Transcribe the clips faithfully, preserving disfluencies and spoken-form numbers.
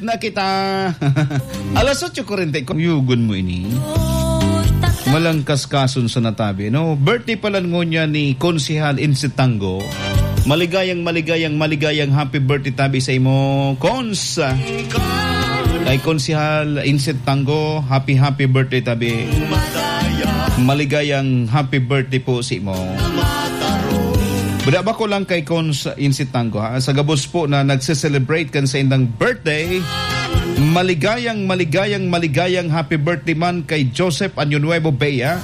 na kita. Alas otso kuwarenta y kuatro. Yugon mo ini. Malangkas kason sa natabi, no? Birthday pala ngunyan ni Konsehal Insit Tango. Maligayang, maligayang, maligayang happy birthday tabi sa imo, Cons. Kay Konsehal Insit Tango, happy, happy birthday tabi. Maligayang happy birthday po sa imo. Buda ba ko lang kay Cons Insit Tango, ha? Sa gabos po na nagse-celebrate kan saindang birthday, maligayang, maligayang, maligayang happy birthday man kay Joseph Año Nuevo Bea,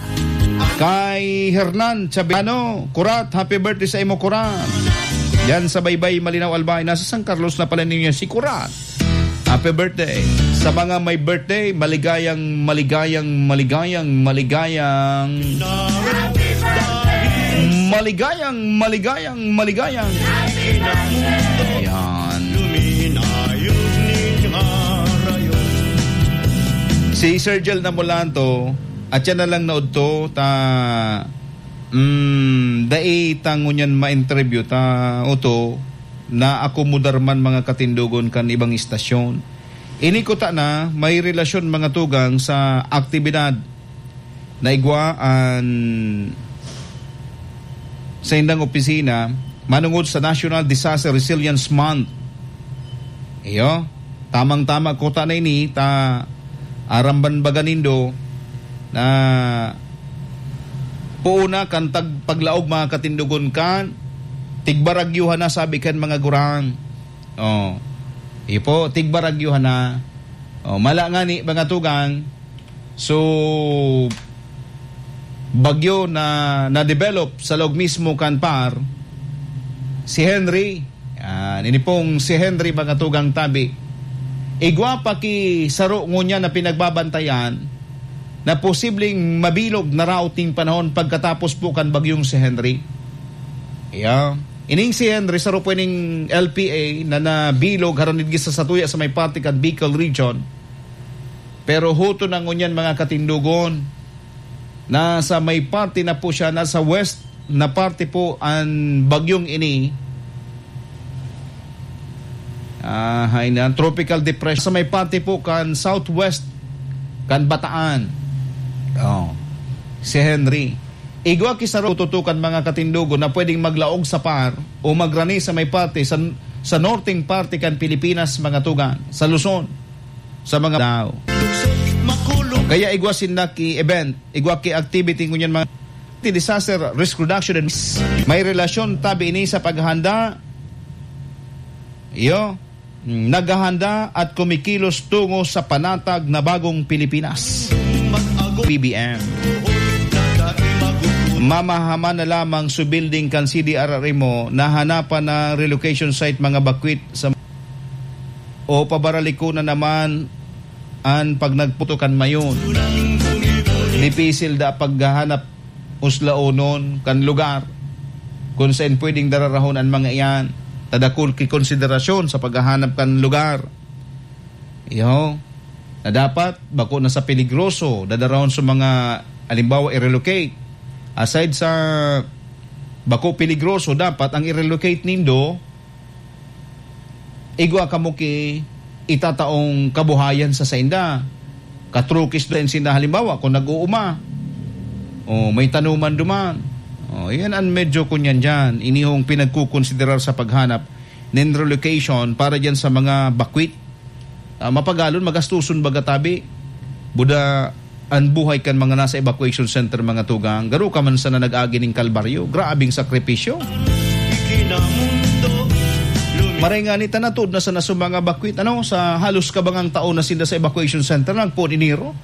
kay Hernan Chabiano, Kurat, happy birthday sa imo, Kurat. Yan sa Baybay, Malinao, Albay. Nasa San Carlos na pala ninyo si Kurat. Happy birthday. Sa mga may birthday, maligayang, maligayang, maligayang, maligayang, maligayang, maligayang, maligayang. Ayan. Si Sir Jel Namulanto, at siya na lang naudto, ta, mm, dai ta ngunyan ma-interview ta, uto, naakomodar man mga katindogon kan ibang istasyon. Ini kuta na may relasyon mga tugang sa aktibidad na igwa an saindang opisina manungod sa National Disaster Resilience Month. Iyo, tamang-tama kuta na ini, ta aram man baga nindo na poon na kan tag-, paglaog mga katindogon kan tigbaragyohan na, sabi kan mga gurang. Oh. Ipo, tigbaragyohan na. Oh, mala ngani, mga tugang. So, bagyo na na-develop sa laog mismo kan par, si Henry. Yan, ini pong si Henry, mga tugang tabi. Igwa pa ki saro ngunyan na pinagbabantayan na posibleng mabilog na raot ning panahon pagkatapos po kan bagyong si Henry. Yeah. Ining si Henry, saro po ining L P A na nabilog harani digdi sa satuya sa may parte kan Bicol Region. Pero huto na ngunyan, mga katindogon, nasa may parte na po siya, nasa west na parte po an bagyong ini. Ah, hay na, tropical depression. Sa may parte po kan southwest, kan Bataan. Oh, si Henry. Igwa ki saro tutukan, mga katindogon, na pwedeng maglaog sa par o magrani sa may parte sa, sa norteng parte kan Pilipinas, mga tugang, sa Luzon, sa mga tao. Kaya igwa sinda ki event, igwa ki activity ngunyan, mga disaster risk reduction and may relasyon tabi ini sa paghahanda. Iyo. Naghahanda at kumikilos tungo sa panatag na bagong Pilipinas. P B M. Mamahaman na lamang sa building kan C D R R M o nahanapan na relocation site, mga bakwit sa, o pabaraliko na naman an pagnagputokan mayon. Dipisil da paghahanap uslaonon kan lugar kun saen pwedeng dararahon an mga iyan. Ta dakul ki konsiderasyon sa paghahanap kan lugar. Iyo, na dapat bako na sa peligroso, dadarahon sa mga, halimbawa, i-relocate. Aside sa bako peligroso, dapat ang i-relocate nindo, igwa kamo ki itataong kabuhayan sa sainda. Katrukis din sinda, halimbawa, kung nag-uuma, o may tanuman duman. O, yan ang medyo kunyan dyan. Inihong pinagkukonsiderar sa paghanap nin relocation para dyan sa mga bakwit. Ah, mapagalon, magastuson baga tabi. Buda, an buhay kan mga nasa evacuation center, mga tugang, garo ka man sana nag-agi nin kalbaryo. Grabeng sakripisyo. Maray ngani ta, natuod na sana sa mga bakwit, ano, sa halos kabangang taon na sila sa evacuation center, nagpoon enero.